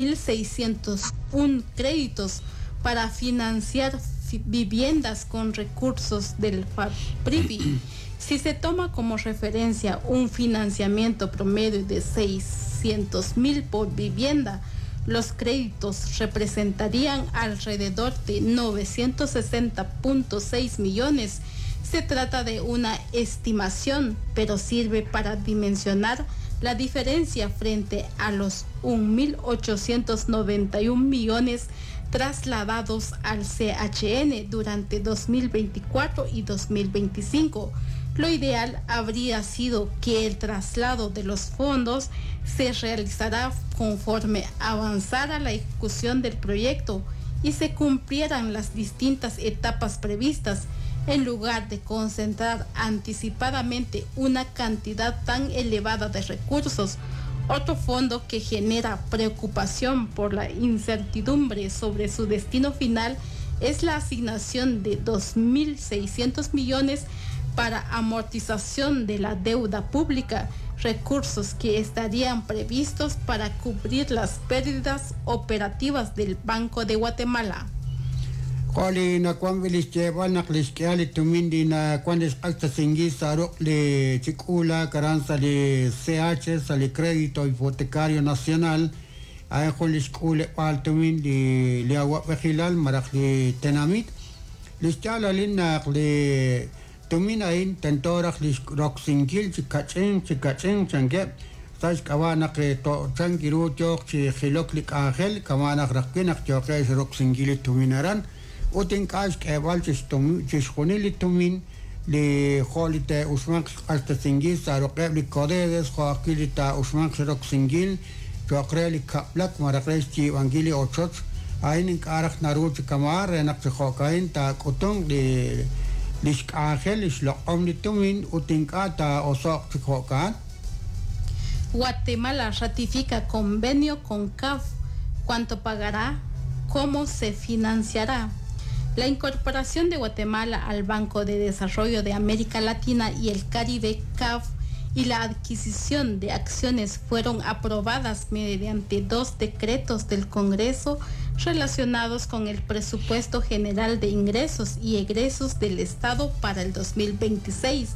1.601 créditos para financiar viviendas con recursos del FAPRIVI. Si se toma como referencia un financiamiento promedio de 600.000 por vivienda, los créditos representarían alrededor de 960.6 millones. Se trata de una estimación, pero sirve para dimensionar la diferencia frente a los 1.891 millones trasladados al CHN durante 2024 y 2025. Lo ideal habría sido que el traslado de los fondos se realizara conforme avanzara la ejecución del proyecto y se cumplieran las distintas etapas previstas, en lugar de concentrar anticipadamente una cantidad tan elevada de recursos. Otro fondo que genera preocupación por la incertidumbre sobre su destino final es la asignación de 2.600 millones para amortización de la deuda pública, recursos que estarían previstos para cubrir las pérdidas operativas del Banco de Guatemala. Jo' li nawank wi' li xyeeb'al naq li xk'ihal li tumin li nawank li xq'axtesinkil sa' ruq' li chi k'uulaak aran sa' li CH sa' li Crédito Hipotecario Nacional a'in jun li xk'uuleb'aal tumin li li awa'b'ejilal malaj li tenamit li xyaalalil naq li tumin a'in tento raj li roksinkil chi kach'inq chi kach'inq chankeb' sa' xk'ab'a' naq chank ru yooq chi jilok li k'anjel kama' naq raj wi' naq yooqeb' xroksinkil li tumin aran ut ink'a' xk'eeb'al chixjunil li tumin li jo' li te'uxmanq xq'axtesinkil sa' ruq'eb' li CODEDES jo' ajwi' li taa'uxmanq xroksinkil cho'q re li kab'lak malaj re xyiib'ankil li ochoch a'in ink'a' raj naru chi kama'an re naq chi jo'ka'in taak'utunq li li xk'anjel li xloq'om li tumin ut ink'a' taa'oso'q chi jo'ka'an. Guatemala ratifica convenio con CAF. ¿Cuánto pagará? ¿Cómo se financiará? La incorporación de Guatemala al Banco de Desarrollo de América Latina y el Caribe, CAF, y la adquisición de acciones fueron aprobadas mediante dos decretos del Congreso relacionados con el Presupuesto General de Ingresos y Egresos del Estado para el 2026,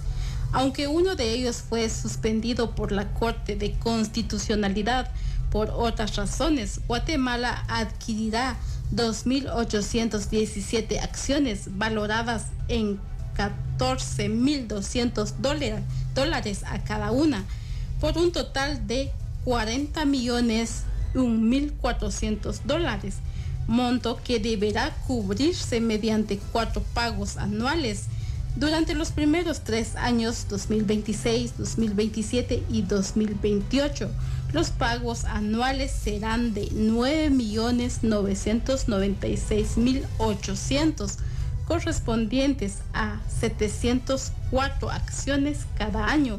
aunque uno de ellos fue suspendido por la Corte de Constitucionalidad por otras razones. Guatemala adquirirá 2.817 acciones valoradas en 14.200 dólares a cada una, por un total de 40.001.400 dólares, monto que deberá cubrirse mediante cuatro pagos anuales durante los primeros 3 años, 2026, 2027 y 2028. Los pagos anuales serán de 9.996.800, correspondientes a 704 acciones cada año.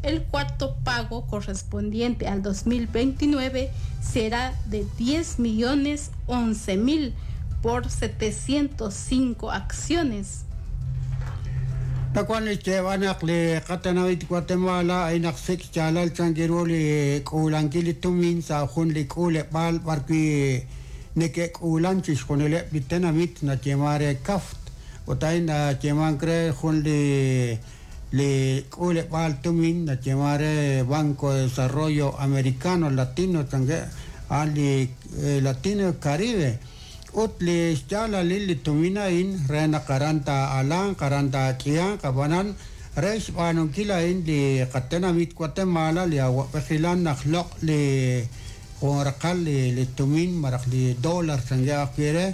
El cuarto pago correspondiente al 2029 será de 10 millones 11 mil por 705 acciones. Nawank li xyeeb'al naq li qatenamit Guatemala a'in naq sik' xyaalal chank ru li k'uulankil li tumin sa' jun li k'uuleb'aal b'arwi' neke'k'uulan chixjunileb' li tenamit nayeeman re CAFT ut a'in nayeemank re jun li li k'uuleb'aal tumin nayeeman re Banco de Desarrollo Americano Latino chankeb' a'an li Latino Caribe ut li xyaalalil li tumin a'in re naq aran taa'alanq aran taak'ihanq ab'anan re xb'aanunkil a'in li qatenamit Guatemala li awa'b'ejilal naq loq' li jun raqal li li tumin malaj li dólar chankeb' ajwi' re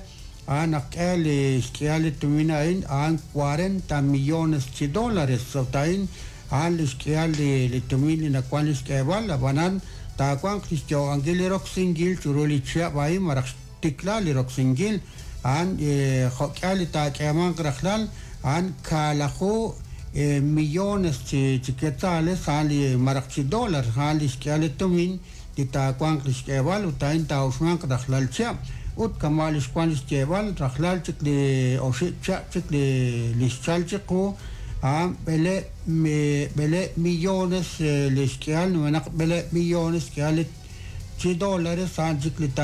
a'an naq k'e li xk'ihal li tumin a'in a'an 40 millones chi dólares ut a'in a'an li xk'ihal li li tumin li nawank li xk'eeb'al ab'anan taawanq li xyo'ankil li roksinkil chiru li chihab' a'in malaj xtikla li roksinkil a'an jo'k'ihal li taak'eemanq rajlal a'an kaalaju millones chi chi quetzales a'an li malaj chi dólar a'an li xk'ihal li tumin li taawanq li xk'eeb'al ut a'in taa'uxmanq rajlal chihab' ut kama' li xwank li xyeeb'al rajlal chik li oxib' chihab' chik li li xchal chiqu a'an b'ele b'ele millones li xk'ihal numenaq b'ele millones xk'ihal li chi dólares a'an chik li ta.